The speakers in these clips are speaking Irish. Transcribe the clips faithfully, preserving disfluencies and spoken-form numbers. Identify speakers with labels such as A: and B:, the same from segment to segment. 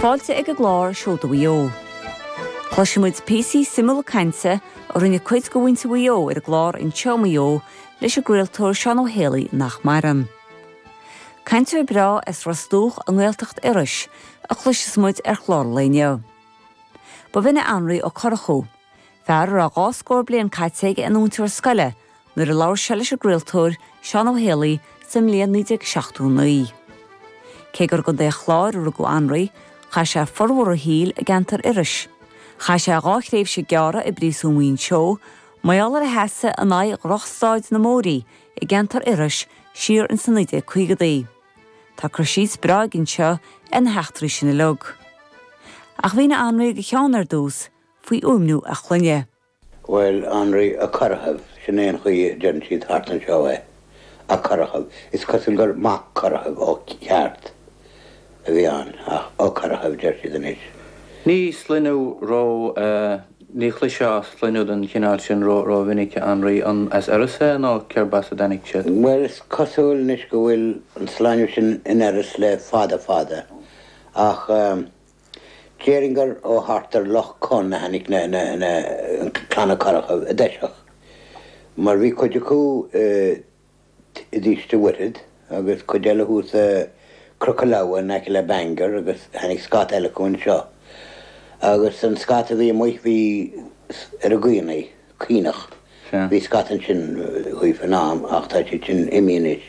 A: Fáilte ag an gclár Seoda Mhaigh Eo. Cloisfimid píosaí suimiúla cainte a rinne cuid de mhuintir Mhaigh Eo ar an gclár Anseo i Maigh Eo leis an gcraoltóir Seán Ó Héalaí nach maireann. Cainteoir breá as Ros Dumhach i nGaeltacht Iorrais a chloisfidh muid ar chlár an lae inniu. Ba bh'in é Anraí Ó Corchú, fear a raibh dhá scór bliain caite aige ina mhúinteoir scoile nuair a labhair sé leis an gcraoltóir Seán Ó Héalaí sa mbliain naoi déag seachtó naoi. Cé gur i gContae an Chláir a rugadh Anraí, chaith sé formhór a shaoil i gceantar Iorrais. Chaith sé dhá thréimhse gearra i bpríosún Mhuinseo, mar gheall ar a sheasamh in aghaidh dhrochstaid na mbóithrí i gceantar Iorrais siar ins na naoi déag caogadaí. Tá cur síos breá aige anseo ar na heachtraí sin uilig. Ach mhínigh Anraí do Sheán ar dtús faoi fhuaimniú a chlainne.
B: Bhuel, Anraí Ó Corrchaibh, sin é an chaoi a deireann siad thart anseo é, Ó Corrchaibh. Is cosúil gur Mac Corrchaibh ó cheart a bhí ann, ach Ó Corrchaibh deir siad anois.
C: Ní sloinneadh ró ní chloisfeá sloinneadh den chineál sin ró rómhinic Anraí an as Iorras é nó cérb as a dtáinig siad?
B: Bhuel, is cosúil anois go bhfuil an sloinneadh sin in Iorras le fada fada, ach déarfainn gur ó thart ar Loch Con a tháinig na na na Clanna Corrchaibh i dtosach, mar bhí cuid acu i dTuiste Mhuirthead agus cuid eile thuas i Cnoc an Leamha in aice le Bangor agus tháinig scata eile acu anseo. Agus an scata a bhí amuigh bhí ar an gCaonaigh, Caonach. Bhí scata ansin dhaofa in am ach tá siad sin imithe anois.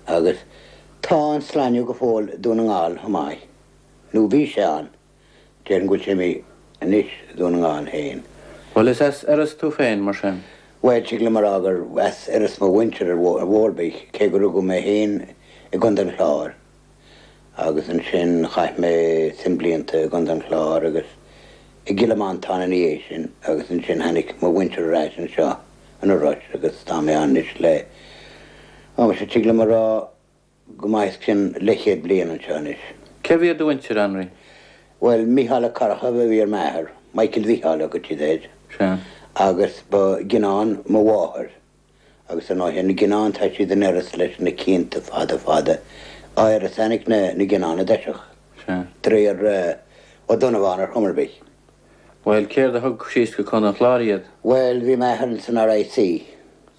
B: Agus tá an sloinneadh go fóill i Dún na nGall chomh maith. Nó bhí sé ann. Déarfainn go bhfuil sé imithe anois i Dún na nGall féin.
C: Bhuel is as Iorras tú féin mar sin?
B: Bhuel, tig liom a rá gur as Iorras mo mhuintir ar mhór bith, cé gur rugadh mé féin i gContae an Chláir. Agus ansin chaith mé suim blianta i gContae an Chláir agus i gCill Mhantáin ina dhiaidh sin agus ansin tháinig mo mhuintir ar ais anseo in Iorrais agus tá mé ann anois le, ó, muise, tig liom a rá go maith os cionn leathchéad bliain anseo anois.
C: Cé hiad do mhuintir, Anraí?
B: Bhuel, Micheál Ó Corrchaibh a bhí ar m'athair, Michael Mhicheáil a thugtaí siad air.
C: Sea.
B: Agus ba Gineán mo mháthair. Agus ar ndóighe, na Gineáin tá siad in Iorras leis na cianta fada fada. Ó Iorras a tháinig na, na Gineáin i dtosach.
C: Sea.
B: De réir Ó Donnabháin ar chuma ar bith.
C: Bhuel, céard a thug síos go Contae an Chláir iad?
B: Bhuel, bhí m'athair san RIC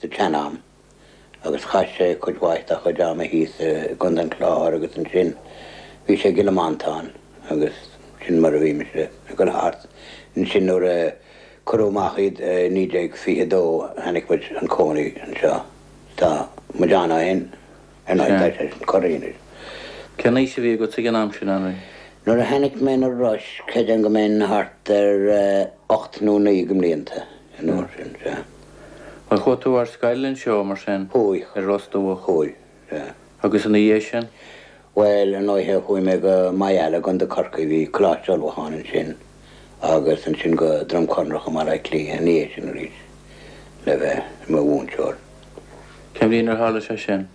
B: sa tsean-am. Agus chaith sé cuid mhaith dá chuid ama thíos i gContae an Chláir agus ansin bhí sé i gCill Mhantáin agus sin mar a bhí mise ag dul thart. Ansin nuair a cuireadh amach iad i naoi déag fiche dó tháinig muid chun cónaí anseo. Tá muid ann ó shin, ar ndóigh tá sé sin corraithe anois.
C: Cén aois a bhí agat ag an am sin, Anraí?
B: Nuair a tháinig mé na Rois, creidim go mbeinn thart ar ocht nó naoi de mblianta an uair sin, sea.
C: Bhuel, chuaigh tú ar scoil anseo mar sin?
B: Chuaigh.
C: I Ros Dumhach?
B: Chuaigh, sea.
C: Agus ina dhiaidh sin?
B: Bhuel, ar ndóighe, chuaigh mé go Maigh Eala i gContae Chorcaí, bhí Coláiste Ullmhúcháin ansin agus ansin go Droim Conrach i mBaile Átha Cliath ina dhiaidh sin arís le bheith i mo mhúinteoir.
C: Cén bhliain ar tharla sé sin?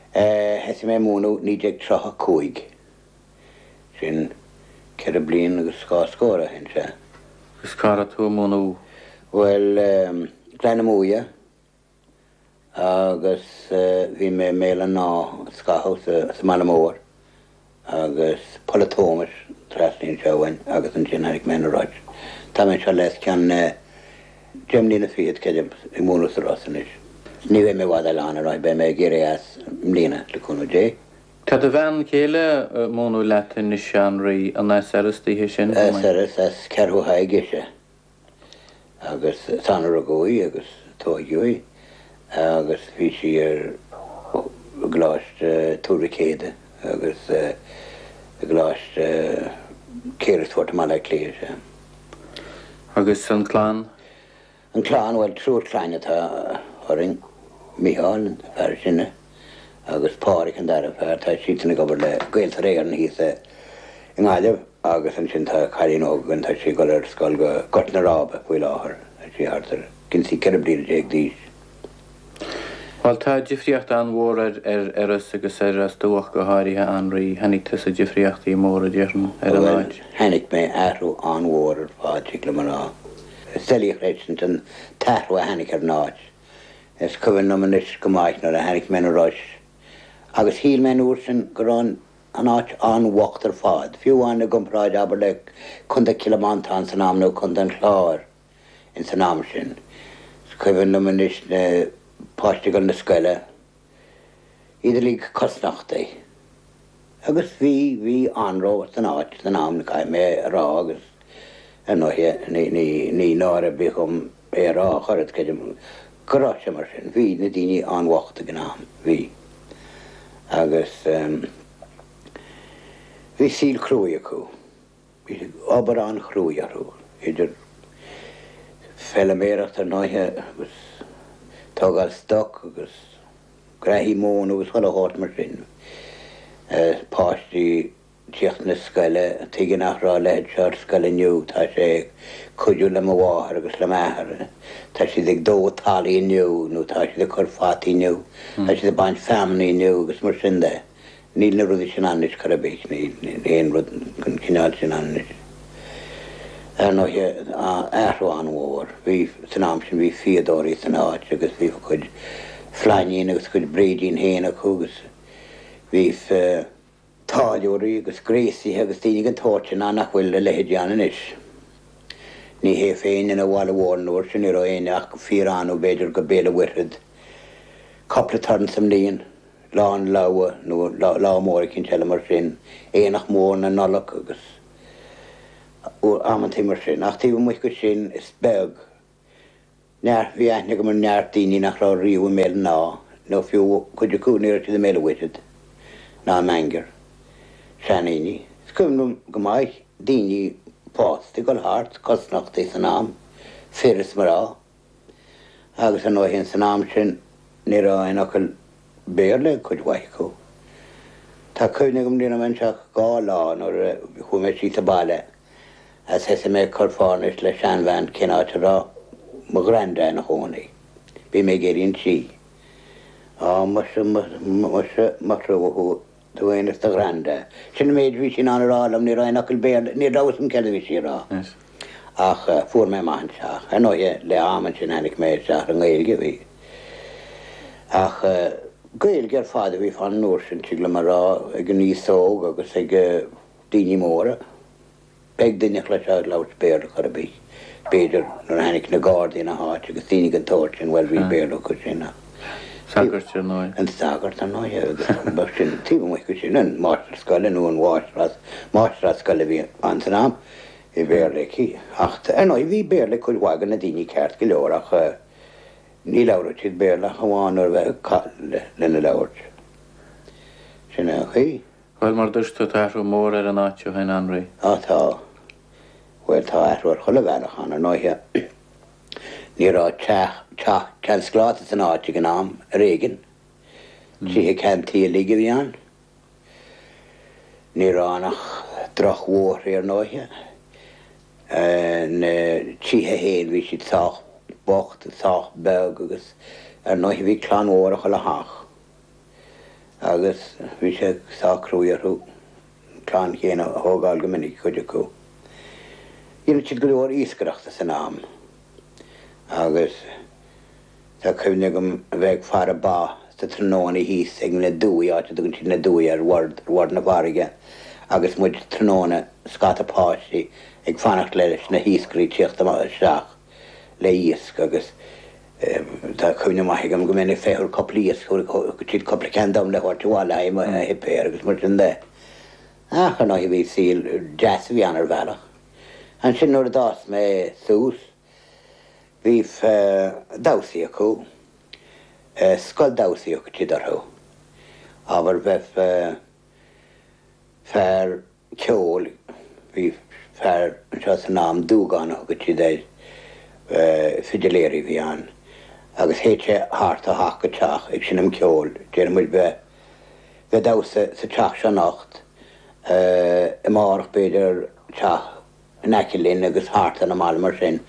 B: Thosaigh mé ag múineadh naoi déag tríocha cúig. Sin ceithre bliain agus dhá scór ó shin, sea.
C: Agus cá raibh tú ag múineadh?
B: Bhuel, Gleann na Muaidhe agus bhí mé i mBéal an Átha scaitheamh sa mBaile Mór agus Poll a' Tómais trasna anseo uainn agus ansin tháinig mé na Rois. Tá mé anseo le os cionn deich mbliana fichead, creidim, ag múineadh sa Ros anois. Ní bheidh mé i bhfad eile ann, ar ndóigh, beidh mé ag éirí as i mbliana, le cúnamh Dé.
C: Tá do bhean chéile ag múineadh leat anois, a Anraí, an as Iorras daoithe sin?
B: As Iorras, as Ceathrú Thaidhg ise. Agus is ann a rugadh í agus tóigeadh í agus bhí sí ar gColáiste Tuar Mhic Éadaigh agus i gColáiste Carysfort i mBaile Átha Cliath, sea.
C: Agus an clann?
B: An clann, bhuel, triúr clainne atá orainn, Micheál, an fear is sine, agus Pádraig an dara fear, tá siadsan ag obair le Gaeltarra Éireann thíos i nGaillimh agus ansin tá cailín óg againn, tá sí ag dul ar scoil go Gort na Rába faoi láthair, tá sí thart ar cionn is ceithre bliana déag d'aois.
C: Bhuel, tá difríocht an-mhór ar ar Iorras agus ar Ros Dumhach go háirithe, a Anraí. Chonaic tusa difríochtaí móra, déarfainn, ar an
B: Bhuel,
C: áit.
B: chonaic mé athrú an-mhór ar fad, tig liom a rá. Is doiligh a chreidiúint an t-athrú a tháinig ar an áit. Is cuimhin liom anois go maith nuair a tháinig mé na Rois agus shíl mé an uair sin go raibh an an áit an-bhocht ar fad, fiú amháin i gcomparáid abair le Contae Chill Mhantáin san am nó Contae an Chláir ins an am sin. Is cuimhin liom anois na páistí ag dul na scoile, iad uilig cosnochtaí. Agus bhí, bhí anró san áit san am, caithfidh mé a rá agus ar ndóighe ní, ní, ní náire ar bith dhom é a rá ach oiread, creidim go raibh sé mar sin. Bhí na daoine an-bhocht ag an am, bhí. Agus bhí saol cruaidh acu. Bhí obair an-chruaidh orthu, idir feilméaracht ar ndóighe agus tógáil stoc agus graithí móna agus chuile shórt mar sin. Páistí tíocht na scoile, tuige nach raibh a leithéid seo ar scoil inniu, tá sé ag cuidiú le mo mháthair agus le m'athair, tá siad ag dó talaimh inniu nó tá siad ag cur fataí inniu, tá siad ag baint feamainní inniu agus mar sin de. Níl na rudaí sin ann anois chor ar bith, níl aon rud den chineál sin ann anois. Ar ndóighe, athrú an-mhór. Bhí, san am sin bhí fíodóirí san áit agus bhí a gcuid flainín agus a gcuid bréidín féin acu agus bhí táilliúirí agus gréasaithe agus daoine den tsórt sin ann nach bhfuil a leithéidí ann anois. Ní hé féin ina bhaile mhór an uair sin, ní raibh éinne ach go fíor-annamh b'fhéidir go Béal an Mhuirthead cúpla turas sa mbliain, lá an logha nó lá mór eicínt eile mar sin, aonach mór na Nollag agus amantaí mar sin. Ach taobh amuigh de sin is beag. Neart, bhí aithne agam ar neart daoine nach raibh riamh i mBéal an Átha, nó fiú cuid acu ní raibh siad i mBéal an Mhuirthead ná i mBangor. Seandaoine. Is cuimhin liom go maith daoine fásta ag dul thart, cosnochtaí san am, fir is mná. Agus ar ndóigh san am sin ní raibh aon fhocal Béarla ag cuid mhaith acu. Tá cuimhne agam ní raibh mé anseo ach dhá lá nuair a chuaigh mé síos abhaile agus thosaigh mé ag cur fá anois le seanbhean cén áit a raibh mo ghranda ina chónaí. Bhí mé ag iarraidh an tí. Á, muise, muise, mo thrua thú, tú fhéin is do ghranda. Sin an méid a bhí sí in ann a rá liom, ní raibh aon fhocal Béarla, ní raibh a fhios agam céard a bhí sí a rá. Ach fuair mé amach an teach. Ar ndóighe, le am ansin tháinig mé isteach ar an nGaeilge, bhí. Ach Gaeilge ar fad a bhí fán uair sin, tig liom a rá, ag an aos óg agus ag daoine móra. Beag duine a chloisfeá ag labhairt Béarla chor ar bith. B'fhéidir nuair a tháinig na Gardaí ina háit agus daoine den tsórt sin, bhuel bhí Béarla acu sin ach.
C: Sagart ar ndóigh.
B: An sagart ar ndóigh agus ba sin taobh amuigh de sin, an máistir scoile nó an mháistreás, máistreás scoile a bhí ann san am, bhí Béarla aici. Ach ar ndóigh bhí Béarla ag cuid mhaith de na daoine ceart go leor ach ní labhradh siad Béarla ach amháin nuair a bheadh cath lena labhairt. Sin é an chaoi.
C: Bhuel, mar dúirt tú, tá athrú mór ar an áit ó shin, Anraí.
B: Á tá. Bhuel, tá athrú ar chuile bhealach ann, ar ndóighe. Ní raibh teach, teach ceann scláta san áit ag an am, ar éigean. Tithe ceann tuí uilig a bhí ann. Ní raibh ann ach drochbhóithre, ar ndóighe. Na tithe féin, bhí siad sách bocht, sách beag agus ar ndóighe bhí clann mhór i chuile theach. Agus bhí sé sách cruaidh orthu an clann chéanna a thógáil go minic, cuid acu. Dhéanadh siad go leor iascaireachta san am agus tá cuimhne agam a bheith ag faire ba sa tráthnóna thíos ag na Dumhaigh, áit a dtugann siad na Dumhaigh ar bhord, ar bhord na farraige agus muid tráthnóna, scata páistí ag fanacht leis na hiascairí tíocht isteach le iasc agus tá cuimhne maith agam go mbeinn ag féachaint ar cúpla iasc, thug siad cúpla ceann dom le thabhairt abhaile le haghaidh mo shuipéir agus mar sin de. Ach ar ndóigh bhí saol deas a bhí ann ar bhealach. Ansin nuair a d'fhás mé suas bhí damhsaí acu, scoil damhsaí a thugtaí orthu. Abair bheadh fear ceoil, bhí fear anseo san am, Dúgán a thugadh siad air, fidiléir a bhí ann, agus théadh sé thart ó theach go teach ag seinm ceoil, déarfaidh muid bheadh, bheadh damhsa sa teach seo anocht, amárach b'fhéidir teach in aice linn agus thart ar an mbaile mar sin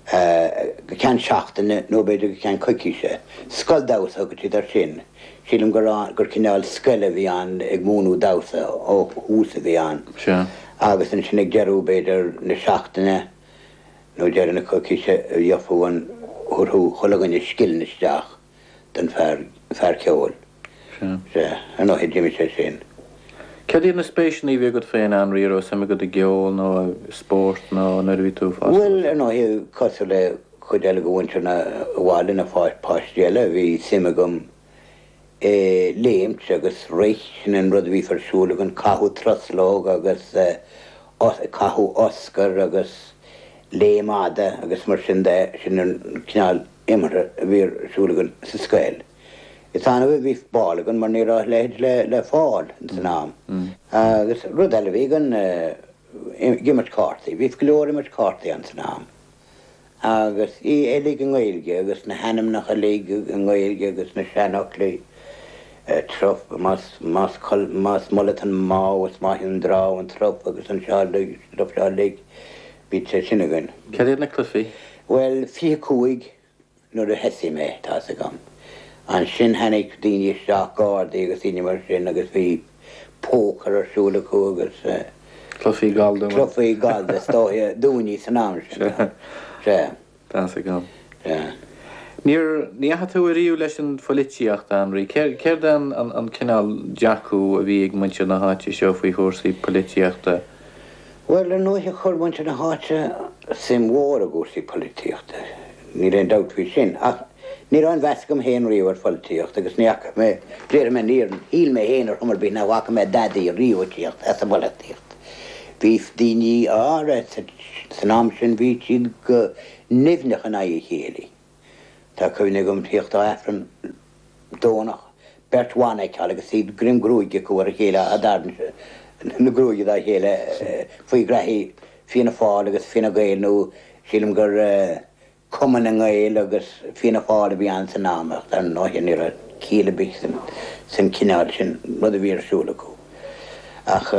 B: go ceann seachtaine nó b'fhéidir go ceann coicíse. Scoil damhsa a thugadh siad air sin. Sílim gur gur cineál scoile a bhí ann ag múineadh damhsa ó thús a bhí ann.
C: Sea.
B: Agus ansin ag deireadh b'fhéidir na seachtaine nó deireadh na coicíse gheofadh an thabharfadh chuile dhuine scilling isteach don fear fear ceoil.
C: Sea.
B: Sea. Ar ndóigh d'imigh sé sin.
C: Cad iad na spéiseanna a bhí agat féin Anraí raibh suim agat i gceol nó spórt nó nuair a bhí tú fás?
B: Bhuel ar ndóigh cosúil le cuid eile de mhuintir na bhaile na páistí eile bhí suim agam i léimt agus rith sin an rud a bhí ar siúl againn caitheamh truslóg agus caitheamh Oscar agus léim fhada agus mar sin de sin an cineál imeartha a bhí ar siúl againn sa scoil. Is annamh a bhí ball againn mar ní raibh a leithéid le le fáil san am. Agus rud eile bhí againn ag imirt cártaí, bhí go leor imirt cártaí ann san am. Agus í uilig i nGaeilge agus na hainmneacha uilig i nGaeilge agus na seanfhoclaí truf más más más mullet an mámh is maith an drámh an truf agus an seo uilig stuff seo uilig bhí sé sin againn.
C: Cad iad na cluichí?
B: Bhuel fiche cúig nuair a thosaigh mé tá's agam. Ansin tháinig daoine isteach, gardaí agus daoine mar sin agus bhí pócar ar siúl acu agus.
C: Cluichí gallda.
B: Cluichí gallda is dóiche dúinne san am sin. Sea.
C: Tá's agam.
B: Sea.
C: Níor, ní dheachaigh tú ariamh leis an pholaitíocht, a Anraí. Céard é an, an cineál dearcadh a bhí ag muintir na háite seo faoi chúrsaí polaitíochta?
B: Bhuel, ar ndóigh chuir muintir na háite suim mhór i gcúrsaí polaitíochta, níl aon dabht faoi sin. Ach ní raibh aon mheas agam féin riamh ar pholaitíocht agus ní fhaca mé, déarfaidh mé, níor shíl mé féin ar chuma ar bith nach bhfaca mé dadaí riamh ag tíocht as an bpolaitíocht. Bhí daoine áirithe san am sin, bhí siad go nimhneach in aghaidh a chéile. Tá cuimhne agam tíocht ó Aifreann Domhnach, beirt bhan a fheiceáil agus iad greim gruaige acu ar a chéile á dtarraingt na gruaige dá chéile faoi ghraithí Fianna Fáil agus Fine Gael nó sílim gur Cumann na nGael agus Fianna Fáil a bhí ann san am ach dar ndóigh ní raibh ciall ar bith san cineál sin rud a bhí ar siúl acu. Ach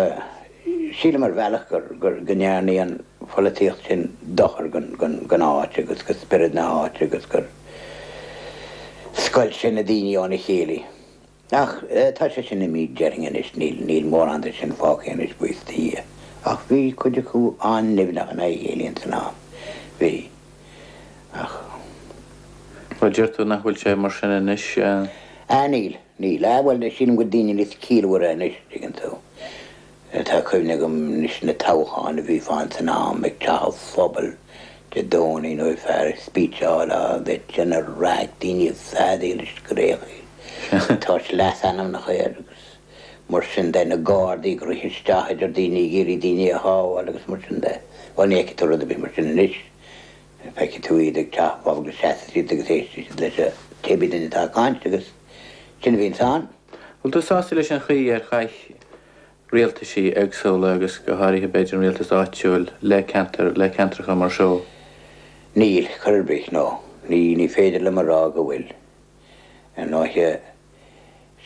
B: sílim ar bhealach gur go ndearna an pholaitíocht sin dochar don áit agus go spiorad na háite agus gur scoilt sé na daoine óna chéile. Ach tá sé sin imithe déarfainn anois, níl níl mórán de sin fágtha anois, buíochas do Dhia. Ach bhí cuid acu an-nimhneach in aghaidh a chéile ins an am. Bhí. Ach.
C: Bhuel, deir tú nach bhfuil sé mar sin anois?
B: Ah, níl, níl. Ah, bhuel, sílim go bhfuil daoine níos ciallmhaire anois, tuigeann tú. Tá cuimhne agam anois na toghcháin a bhí ann san am ag teach an phobail Dé Domhnaigh nó fear ag speecháil á bheith ag déanamh raic, daoine ag feadaíl ag scréachaíl, ag tabhairt leasainmneacha air agus mar sin de, na Gardaí ag rith isteach idir daoine ag iarraidh daoine a shábháil agus mar sin de. Bhuel ní fheicfidh tú rud ar bith mar sin anois. Feicfidh tú iad ag teach an phobail agus seasfaidh siad agus éistfidh siad leis an cébí duine atá ag caint agus sin a bhíonns ann.
C: Bhfuil tú sásta leis an chaoi ar chaith rialtaisí éagsúla agus go háirithe b'fhéidir an rialtas áitiúil le ceantar, le ceantracha mar seo?
B: Níl, chor ar bith, no. Ní, ní féidir liom a rá go bhfuil. Ar ndóighe,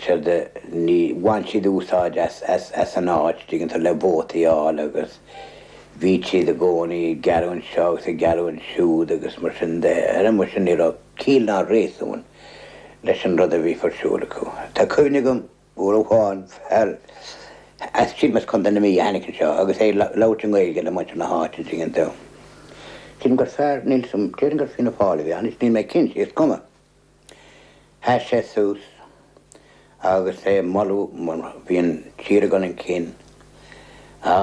B: séard a, ní, bhain siad úsáid as, as, as an áit, tuigeann tú, le vótaí a fháil agus bhí siad i gcónaí ag gearradh anseo agus ag gearradh ansiúd agus mar sin de. Ar muise ní raibh ciall ná réasún leis an rud a bhí ar siúl acu. Tá cuimhne agam uair amháin fear as, sílim as Contae na Mí a tháinig anseo agus é ag labhairt i nGaeilge le muintir na háite, tuigeann tú. Sílim gur fear, níl 'fhios a'm, déarfainn gur Fianna Fáil a bhí ann, níl mé cinnte, is cuma. Sheas sé suas agus é ag moladh mar bhí an tír ag dul chun cinn. Á,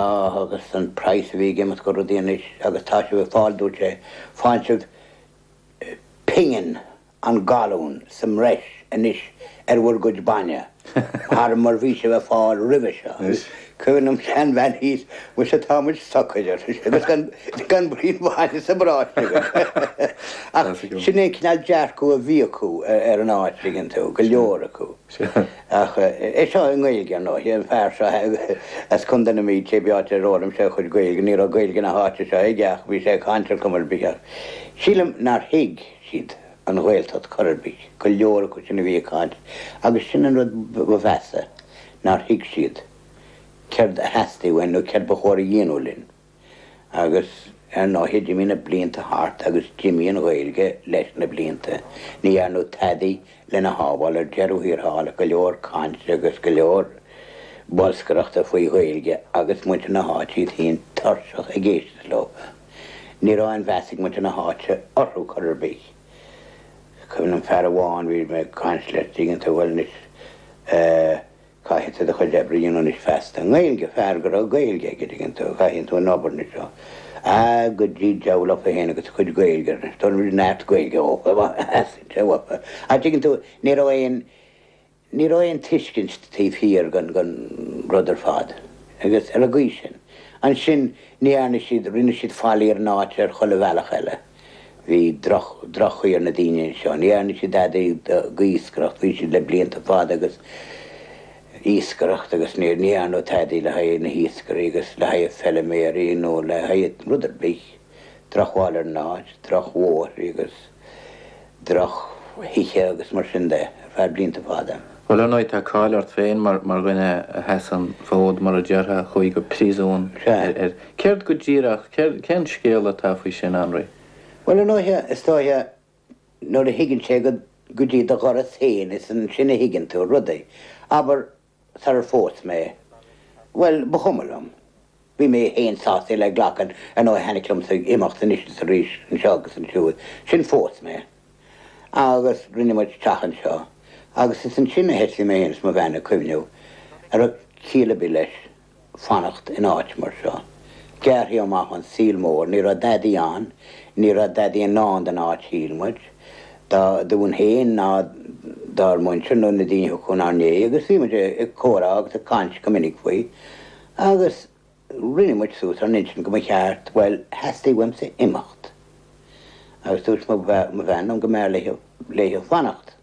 B: agus an praghas a bhí ag imeacht go rudaí anois agus tá sibh ag fáil, dúirt sé, faigheann sibh pingin an galún sa mbreis anois ar bhur gcuid bainne thar mar bhí sibh ag fáil roimhe seo. Cuimhin liom seanbhean thíos, muise tá muid socair, ar sise, agus gan gan braon bainne sa bparáiste againn. Ach sin é an cineál dearcadh a bhí acu ar an áit, tuigeann tú, go leor acu. Ach é seo i nGaeilge, ar ndóigh, an fear seo as Contae na Mí, cé áit ar fhoghlaim sé a chuid Gaeilge, ní raibh Gaeilge na háite seo aige ach bhí sé ag caint ar chuma ar bith. Ach sílim nár thuig siad an Ghaeltacht chor ar bith, go leor acu sin a bhí ag caint, agus sin an rud ba mheasa, nár thuig siad céard a theastaigh uainn nó céard ba chóir a dhéanamh linn. Agus ar ndóigh d'imigh na blianta thart agus d'imigh an Ghaeilge leis na blianta. Ní dhearnadh tadaí lena shábháil ar deireadh thiar thall, go leor cainte agus go leor bolscaireachta faoi Ghaeilge agus muintir na háite iad féin tuirseach ag éisteacht leo. Ní raibh aon mheas ag muintir na háite orthu chor ar bith. Cuimhin liom fear amháin, bhí mé ag caint leis, tuigeann tú, bhuel anois, eh, Caithfidh tú do chuid oibre a dhéanamh anois feasta i nGaeilge, fear go raibh Gaeilge aige, tuigeann tú, caithfidh tú an obair anois seo. Ah, go dtí deabhal leofa féin agus a chuid Gaeilge, tabharfaidh muid neart Gaeilge dhófa, theastaigh sé uafa. Ach tuigeann tú, ní raibh aon, ní raibh aon tuiscint taobh thiar den, den rud ar fad. Agus ar an gcaoi sin. Ansin, ní dhearna siad, rinne siad faillí ar an áit ar chuile bhealach eile. Bhí droch, droch-chaoi ar na daoine anseo. Ní dhearna siad dadaí d'iascaireacht, bhí siad le blianta fada agus iascaireacht agus ní ní dhearnadh tada le haghaidh na hiascairí agus le haghaidh feilméaraí nó le haghaidh rud ar bith. Drochbhail ar an áit, drochbhóithre agus drochthithe agus mar sin de ar feadh blianta fada.
C: Bhuel, ar ndóigh, tá cáil ort féin mar mar dhuine a sheas an fód, mar a déarfá, a chuaigh go príosún
B: Sea.
C: ar Céard go díreach, céard, cén scéal atá faoi sin, Anraí?
B: Bhuel, ar ndóigh, is dóiche nuair a thigeann sé go go dtí do dhoras féin, is ansin a thuigeann tú rudaí. Abair, sarar phós mé, bhuel, ba chuma liom. Bhí mé féin sásta le glacadh, ar ndóigh, tháinig liomsa imeacht anois is arís anseo agus ansiúd. Sin phós mé. Agus rinne muid teach anseo. Agus is ansin a thosaigh mé féin is mo bhean ag cuimhneamh an raibh ciall ar bith leis fanacht in áit mar seo. Gearrtha amach ón saol mór, ní raibh dadaí ann, ní raibh dadaí i ndán don áit shíl muid, dá dúinn féin ná dár muintir nó na daoine a thiocfadh inár ndiaidh agus bhí muid ag comhrá agus ag caint go minic faoi agus rinne muid suas ár n-intinn go mba cheart, bhuel, theastaigh uaimse imeacht. Agus dúirt mo bhean liom go mb'fhearr léi léi fanacht.